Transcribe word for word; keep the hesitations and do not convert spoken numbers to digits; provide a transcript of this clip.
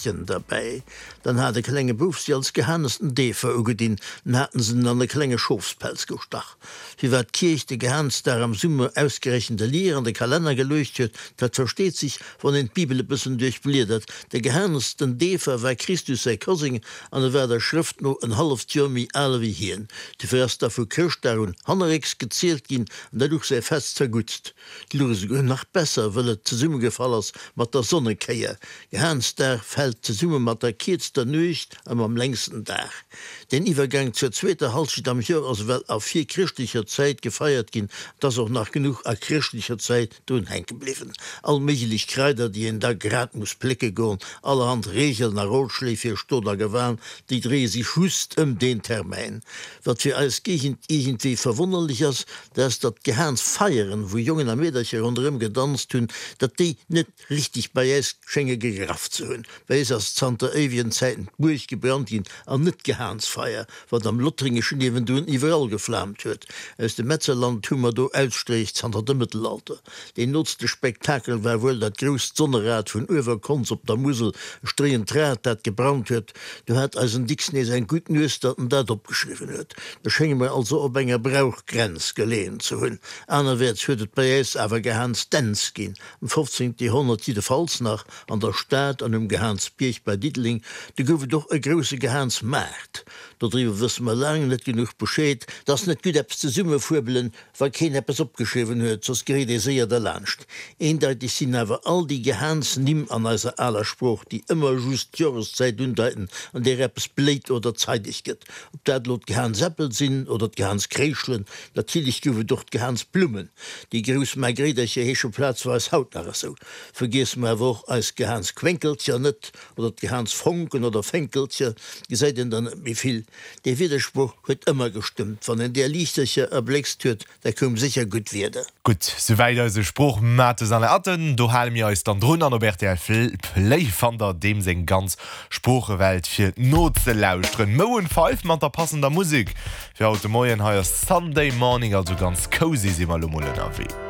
Derbäi. Dann hat e klenge Bouf si als Gehanes den Deefer ugedinn, dann haten se en an e klenge Schofspelz gestach. Firwat d'Kierch de Gehansdag am Summer ausgerechent e Lier an de Kalenner geluecht huet, dat versteet sech, wann een d'Bibel e bëssen duerchbliedert. De Gehanes den Deefer war Christus säi Koseng an e war der Schrëft no en halleft Joer méi al ewéi hien. Dofir ass da vu Chrëschtdag un hannerrécks gezielt ginn an dat och säi Fest zerguttst. D'Luch esouguer nach besser, wëll et zesummegefall ass mat der Sonnekéier. Gehansdag fält zesumme mat der kierzter Nuecht a mam längsten Dag. Den Iwwergang zur zweeter Halschent am Joer ass ewell a virchrëschtlecher Zäit gefeiert ginn, et ass och nach genuch a chrëschtlecher Zäit drun hänke bliwwen. All méiglech Kraider, déi een da grad muss plécke goen, allerhand Regeln a Rotschléi fir Stot a Gewan, déi dréie sech just ëm deen Termäin. Wat fir eis Géigend iergendwéi verwonnerlech ass, dat ass, datt d'Gehansfeieren, wou Jongen a Meedercher ronderëm gedanzt hunn, datt déi net richteg bei äis schénge gegraff ze hunn. Bei äis ass zanter éiwegen Zäiten d'Buerg gebrannt ginn an net d'Gehansfeier, wat am Lothringeschen niewendrun iwwerall geflaamt huet. Aus dem Metzerland hu mer do Ausstréich zanter dem Mëttelalter. Deen nootste Spektakel war wuel dat grousst Sonnerad vun Uewerkonz op der Musel, e stréiend Rad, dat gebrannt huet. Do hat eisen Dicks nees eng gutt Nues, datt en dat opgeschriwwen huet. Do schénge mer also op enger Brauchgrenz geleeën ze hunn. Anerwäerts huet et bei äis awer Gehansdänz ginn, am fofzéngte Joerhonnert jiddefalls nach, an der Stad an um Gehansbierg bei Diddeleng. Do gouf et och e grousse Gehansmaart. Dodriwwer wësse mer laang net genuch Bescheed. 't ass net gutt eppes zesummefuebelen, wa keen eppes opgeschriwwen huet, soss geréit ee séier derlaanscht. Eendeiteg sinn awer all déi Gehansnimm an eiser aler Sprooch, déi ëmmer just d'Joreszäit undeiten, an där eppes bléit oder zeideg gëtt. Ob dat elo d'Gehansäppel sinn oder d'Gehanskréischelen, natierlech gouf et och d'Gehansblummen. Déi grouss Margréidercher heesche plazweis haut nach esou. Vergiesse mer awer och eis Gehansquénkelcher net, oder d'Gehansfonken oder Fénkelcher, gesäit een der net méi vill. Dee Widdersproch huet ëmmer gestëmmt, wann een där Liichtercher erbléckst huet, da koum sécher gutt Wieder. Gutt, souwäit eise Sproochmates Alain Atten. Do hale mir eis dann drun an op rtl Play fannt der deem seng ganz Sproochewelt fir nozelauschteren. Maroon five mat der passender Musek fir haut de Moien. Hei ass Sunday Morning, also ganz cozy si mer elo mol ënnerwee.